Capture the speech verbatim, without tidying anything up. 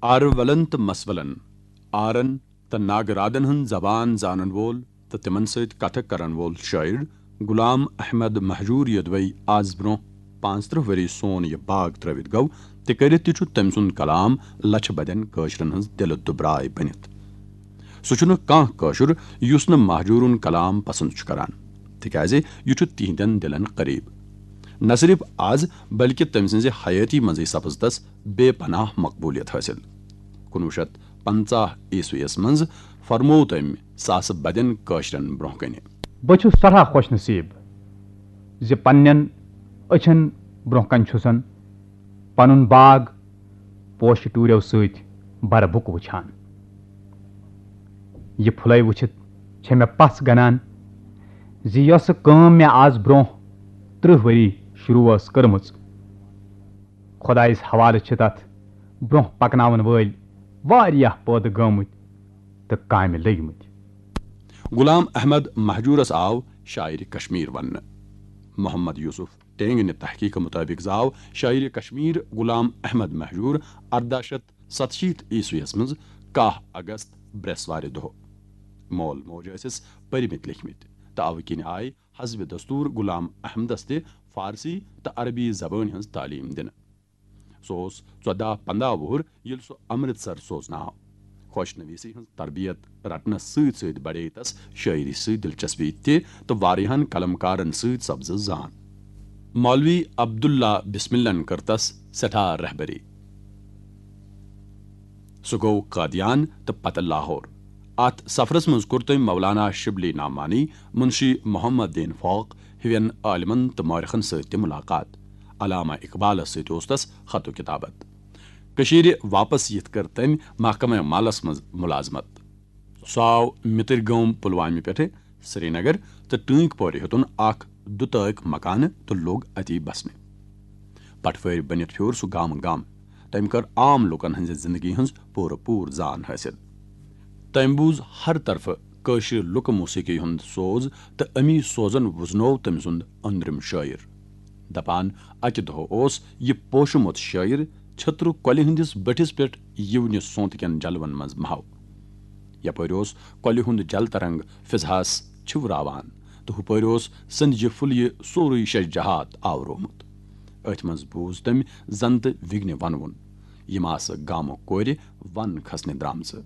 آرٕ ولن تہٕ مس ولن، آرن تہٕ ناگہٕ رادن ہٕنٛز زبان زانن وول تہٕ تِمن سۭتۍ کتھٕ کرن وول شٲعر غلام احمد مہجور یوٚدوے از برونٛہہ پانٛژترٕٛہ ؤری سون یہِ باغ ترٲوِتھ گوٚو، تہِ کٔرِتھ تہِ چھُ تٔمۍ سُنٛد کلام لچھِ بدٮ۪ن کٲشرٮ۪ن ہٕنٛز دِلہٕ دُبراے بٔنِتھ۔ سُہ چھُنہٕ کانٛہہ کٲشُر یُس نہٕ مہجورُن کلام پسند چھُ کران، تِکیازِ یہِ چھُ تِہنٛدٮ۪ن دِلن قریب۔ نہ صرف از، بلکہ تٔمۍ سٕنٛزِ حیٲتی منٛزٕے سپٕز تس بے پناہ مقبولیت حٲصِل۔ کُنوُہ شیٚتھ پنٛژاہ عیسویس منٛز فرموو تٔمۍ ساسہٕ بدٮ۪ن کٲشرٮ۪ن برونٛہہ کنہِ۔ بہٕ چھُس سٮ۪ٹھاہ خۄش نصیٖب زِ پننٮ۪ن أچھن برونٛہہ کنہِ چھُسن پنُن باغ پوشہٕ ٹوٗرٮ۪و سۭتۍ برٕ بُکہٕ وٕچھان۔ یہِ پھُلے وٕچھِتھ چھےٚ مےٚ پژھ گنان زِ یۄسہٕ کٲم مےٚ از برونٛہہ ترٕٛہ ؤری شروع ٲس کٔرمٕژ، خۄدایس حوالہٕ چھِ تتھ برونٛہہ پکناون وٲلۍ واریاہ پٲدٕ گٲمٕتۍ تہٕ کامہِ لٔگۍ مٕتۍ۔ غلام احمد مہجورس آو شاعرِ کشمیر وننہٕ۔ محمد یوسف ٹینگنہِ تحقیقہٕ مطٲبق زاو شاعرِ کشمیر غلام احمد مہجور ارداہ شیٚتھ ستشیٖتھ عیسویس منٛز کاہ اگست، برٛیسوارِ دۄہ۔ مول موج ٲسِس پٔرمٕتۍ لیکھمٕتۍ تہٕ اوٕ کِنۍ آیہِ حسبِ دستور غلام احمدس تہِ فارسی تہٕ عربی زبٲنۍ ہٕنٛز تعلیٖم دِنہٕ۔ سُہ اوس ژۄداہ پنٛداہ وُہُر ییٚلہِ سُہ امرتسر سوزنہٕ آو۔ خۄش نویسی ہٕنٛز تربیت رٹنس سۭتۍ سۭتۍ بڑے تس شٲعری سۭتۍ دلچسپی تہِ تہٕ واریاہن قلمکارن سۭتۍ سپزٕ زان۔ مولوی عبداللہ بسملن کٔر تس سٮ۪ٹھاہ رہبری۔ سُہ گوٚو قادیان تہٕ پتہٕ لاہور۔ اتھ سفرس منٛز کوٚر تٔمۍ مولانا شبلی نعمانی، منشی محمد دین فوق ہِوٮ۪ن عالمن تہٕ مورخن سۭتۍ تہِ ملاقات۔ علامہ اقبالس سۭتۍ اوس تس خط و کتابت۔ کٔشیٖرِ واپس یِتھ کٔر تٔمۍ محکمہ مالس منٛز ملازمت۔ سُہ آو مِتٕرۍ گٲم پلوامہِ پٮ۪ٹھٕ سرینگر تہٕ ٹٲنٛگۍ پورِ ہیوٚتُن اکھ دُتٲکۍ مکانہٕ تہٕ لوٚگ اتی بسنہِ۔ پٹھوٲرۍ بٔنِتھ پھیوٗر سُہ گامہٕ گام۔ تٔمۍ کٔر عام لوٗکن ہٕنٛزِ زِندگی ہٕنٛز پوٗرٕ پوٗر زان حٲصِل۔ تٔمۍ بوٗز ہر طرفہٕ کٲشرِ لُکہٕ موسیقی ہُنٛد سوز تہٕ اَمی سوزن وُزنوو تٔمۍ سُنٛد أنٛدرِم شٲعر۔ دپان، اکہِ دۄہ اوس یہِ پوشمُت شٲعر چھٔترٕ کۄلہِ ہٕنٛدِس بٔٹھِس پٮ۪ٹھ یِونہِ سونتہٕ کٮ۪ن جلون منٛز محو۔ یپٲرۍ اوس کۄلہِ ہُنٛد جل ترنگ فضحس چھِوراوان تہٕ ہُپٲرۍ اوس سندجہِ پھُلیہِ سورُے شش جہات آورومُت۔ أتھۍ منٛز بوٗز تٔمۍ زنتہٕ وِگنہِ ونوُن، یِم آسہٕ گامہٕ کورِ ون کھسنہِ درامژٕ۔